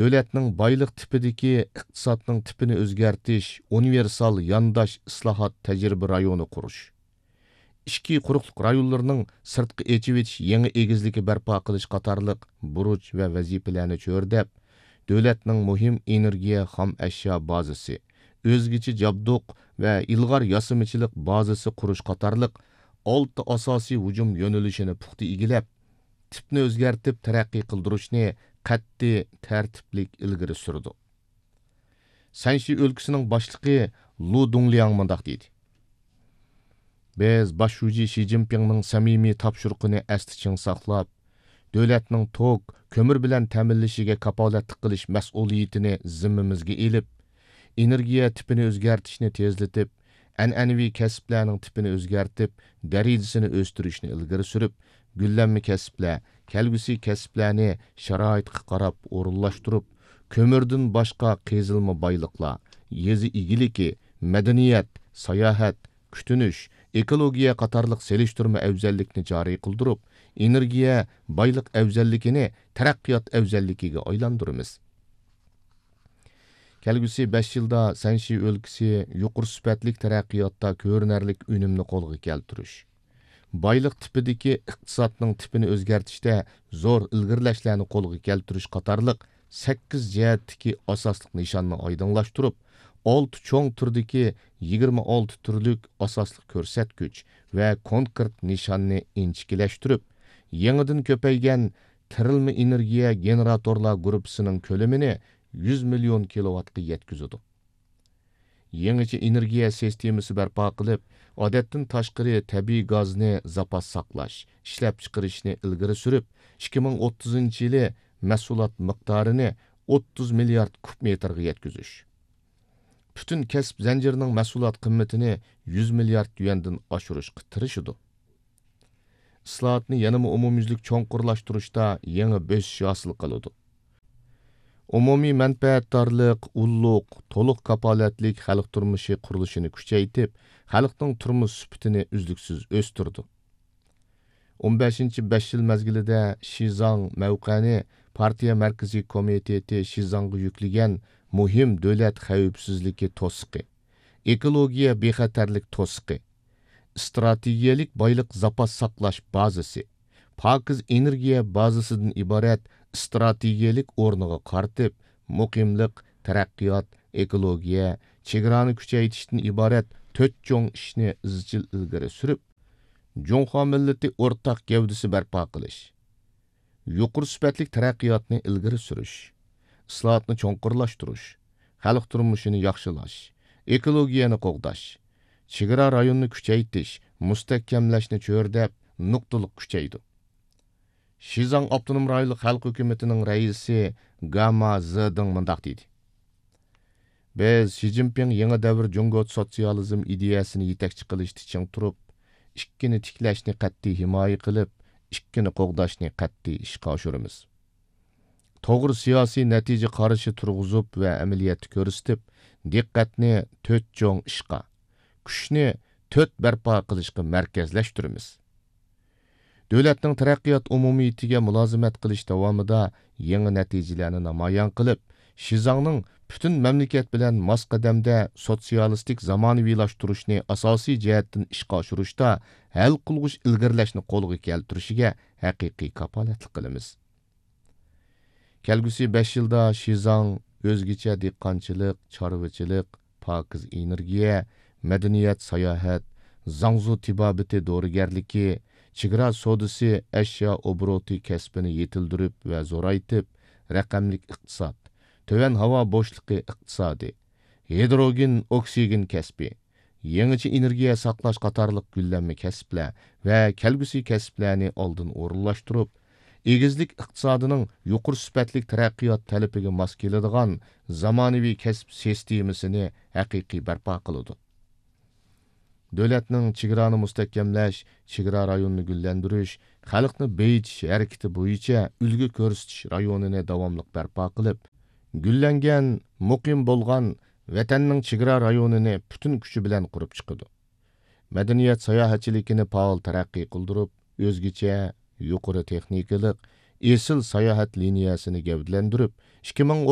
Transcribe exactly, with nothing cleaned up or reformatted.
دۆلەتنىڭ بايلىق تىپىدىكى ئىقتىسادنىڭ تىپىنى ئۆزگەرتىش ئۇنىۋېرسال يانداش ئىسلاھات تەجرىبە رايونى قۇرۇش، ئىچكى قۇرۇقلۇق رايونلىرىنىڭ سىرتقا ئېچىۋېتىش يېڭى ئېگىزلىكى بەرپا قىلىش قاتارلىق بۇرچ ۋە ۋەزىپىلەرنى چۆرىدەپ، دۆلەتنىڭ مۇھىم ئېنېرگىيە خام ئەشيا بازىسى، ئۆزگىچە جابدۇق ۋە ئىلغار ياسىمىچىلىق بازىسى قۇرۇش قاتارلىق ئالتە ئاساسىي ھۇجۇم يۆنىلىشىنى پۇختا ئىگىلەپ، تىپنى ئۆزگەرتىپ تەرەققىي قىلدۇرۇشنى قەتئىي، تەرتىپلىك ئىلگىرى سۈرىدۇ. سەنشى ئۆلكىسىنىڭ باشلىقى لۇ دۇڭلياڭ مۇنداق دېدى: بىز باش شۇجى شى جىنپىڭنىڭ سەمىمىي تاپشۇرۇقىنى ئەستە چىڭ ساقلاپ، دۆلەتنىڭ توك، كۆمۈر بىلەن تەمىنلىشىگە كاپالەتلىك قىلىش مەسئۇلىيىتىنى زىممىمىزگە ئېلىپ، ئېنېرگىيە تىپىنى ئۆزگەرتىشنى تېزلىتىپ، ئەنئەنىۋى كەسىپلەرنىڭ تىپىنى ئۆزگەرتىپ، دەرىجىسىنى ئۆستۈرۈشنى ئىلگىرى سۈرۈپ، گۈللەنمە كەسىپلەر، كەلگۈسى كەسىپلەرنى شارائىتقا قاراپ ئورۇنلاشتۇرۇپ، كۆمۈردىن باشقا قېزىلما بايلىقلار، يېزا ئىگىلىكى، مەدەنىيەت، ساياھەت، كۈتۈنۈش، ئېكولوگىيە قاتارلىق سېلىشتۇرما ئەۋزەللىكنى جارى قىلدۇرۇپ، ئېنېرگىيە بايلىق ئەۋزەللىكىنى تەرەققىيات ئەۋزەللىكىگە ئايلاندۇرىمىز. كەلگۈسى بەش يىلدا سەنشى ئۆلكىسى يۇقىرى سۈپەتلىك تەرەققىياتتا كۆرۈنەرلىك ئۈنۈمنى قولغا كەلتۈرۈش، بايلىق تىپىدىكى ئىقتىسادنىڭ تىپىنى ئۆزگەرتىشتە زور ئىلگىرىلەشلەرنى قولغا كەلتۈرۈش قاتارلىق سەككىز جەھەتتىكى ئاساسلىق نىشاننى ئايدىڭلاشتۇرۇپ، ئالتە چوڭ تۈردىكى يىگىرمە ئالتە تۈرلۈك ئاساسلىق كۆرسەتكۈچ ۋە كونكرېت نىشاننى ئىنچىكىلەشتۈرۈپ، يېڭىدىن كۆپەيگەن تىرىلما ئېنېرگىيە گېنېراتورلار گۇرۇپپىسىنىڭ كۆلىمىنى يۈز مىليون كىلوۋاتقا يەتكۈزىدۇ. يېڭىچە ئېنېرگىيە سىستېمىسى بەرپا قىلىپ، ئادەتتىن تاشقىرى تەبىئىي گازنى زاپاس ساقلاش، ئىشلەپچىقىرىشنى ئىلگىرى سۈرۈپ، ئىككى مىڭ ئوتتۇزىنچى يىلى مەھسۇلات مىقدارىنى ئوتتۇز مىليارد كۇب مېتىرغا يەتكۈزۈش، پۈتۈن كەسىپ زەنجىرىنىڭ مەھسۇلات قىممىتىنى يۈز مىليارد يۈەندىن ئاشۇرۇشقا تىرىشىدۇ. ئىسلاھاتنى يەنىمۇ ئومۇميۈزلۈك چوڭقۇرلاشتۇرۇشتا يېڭى بۆسۈش ھاسىل قىلىدۇ. ئومۇمىي مەنپەئەتدارلىق، ئۇللۇق، تولۇق كاپالەتلىك خەلق تۇرمۇشى قۇرۇلۇشىنى كۈچەيتىپ، خەلقنىڭ تۇرمۇش سۈپىتىنى ئۈزلۈكسىز ئۆستۈرىدۇ. ئون بەشىنچى بەش يىل مەزگىلىدە شىزاڭ مەۋقەنى پارتىيە مەركىزىي كومىتېتى شىزاڭغا يۈكلىگەن مۇھىم دۆلەت خەۋپسىزلىكى توسۇقى، ئېكولوگىيە بىخەتەرلىك توسۇقى، ئىستراتېگىيەلىك بايلىق زاپاس ساقلاش بازىسى، پاكىز ئېنېرگىيە بازىسىدىن ئىبارەت ئىستراتېگىيەلىك ئورنىغا قارىتىپ، مۇقىملىق، تەرەققىيات، ئېكولوگىيە، چېگرانى كۈچەيتىشتىن ئىبارەت تۆت چوڭ ئىشنى ئىزچىل ئىلگىرى سۈرۈپ، جۇڭخۇا مىللىتى ئورتاق گەۋدىسى بەرپا قىلىش، يۇقىرى سۈپەتلىك تەرەققىياتنى ئىلگىرى سۈرۈش، ئىسلاھاتنى چوڭقۇرلاشتۇرۇش، خەلق تۇرمۇشىنى ياخشىلاش، ئېكولوگىيەنى قوغداش، چېگرا رايونىنى كۈچەيتىش، مۇستەھكەملەشنى چۆرىدەپ، نۇقتىلىق كۈچەيدۇ. شىزاڭ ئاپتونوم رايونلۇق خەلق ھۆكۈمىتىنىڭ رەئىسى گاما زېدىڭ مۇنداق دېدى: بىز شى جىنپىڭ يېڭى دەۋر جۇڭگو سوتسىيالىزم ئىدىيەسىنى يېتەكچى قىلىشتا چىڭ تۇرۇپ، ئىككىنى تىكلەشنى قەتئىي ھىمايە قىلىپ، ئىككىنى قوغداشنى قەتئىي ئىشقا ئاشۇرىمىز. توغرا سىياسىي نەتىجە قارىشى تۇرغۇزۇپ ۋە ئەمەلىيەتتە كۆرسىتىپ، دىققەتنى تۆت چوڭ ئىشقا، كۈچنى تۆت بەرپا قىلىشقا مەركەزلەشتۈرىمىز. دۆلەتنىڭ تەرەققىيات ئومۇمىيىتىگە مۇلازىمەت قىلىش داۋامىدا يېڭى نەتىجىلەرنى نامايان قىلىپ، شىزاڭنىڭ پۈتۈن مەملىكەت بىلەن ماس قەدەمدە سوتسىيالىستىك زامانىۋىلاشتۇرۇشنى ئاساسىي جەھەتتىن ئىشقا ئاشۇرۇشتا ھەل قىلغۇچ ئىلگىرىلەشنى قولغا كەلتۈرۈشىگە ھەقىقىي كاپالەتلىك قىلىمىز. كەلگۈسى بەش يىلدا شىزاڭ ئۆزگىچە دېھقانچىلىق، چارۋىچىلىق، پاكىز ئېنېرگىيە، مەدەنىيەت، ساياھەت، زاڭزۇ تېبابىتى دورىگەرلىكى، چېگرا سودىسى، ئەشيا ئوبوروتى كەسپىنى يېتىلدۈرۈپ ۋە زورايتىپ، رەقەملىك ئىقتىساد، تۆۋەن ھاۋا بوشلۇقى ئىقتىسادى، ھىدروگېن ئوكسىگېن كەسپى، يېڭىچە ئېنېرگىيە ساقلاش قاتارلىق گۈللەنمە كەسىپلەر ۋە كەلگۈسى كەسىپلەرنى ئالدىن ئورۇنلاشتۇرۇپ، ئېگىزلىك ئىقتىسادىنىڭ يۇقىرى سۈپەتلىك تەرەققىيات تەلىپىگە ماس كېلىدىغان زامانىۋى كەسىپ سىستېمىسىنى ھەقىقىي بەرپا قىلىدۇ. دۆلەتنىڭ چېگرانى مۇستەھكەملەش، چېگرا رايونىنى گۈللەندۈرۈش، خەلقنى بېيىتىش ھەرىكىتى بويىچە ئۈلگە كۆرسىتىش رايونىنى داۋاملىق بەرپا قىلىپ، گۈللەنگەن، مۇقىم بولغان ۋەتەننىڭ چېگرا رايونىنى پۈتۈن كۈچى بىلەن قۇرۇپ چىقىدۇ. مەدەنىيەت ساياھەتچىلىكىنى پائال تەرەققىي قىلدۇرۇپ، ئۆزگىچە، يۇقىرى تېخنىكىلىق، ئېسىل ساياھەت لىنىيەسىنى گەۋدىلەندۈرۈپ، ئىككى مىڭ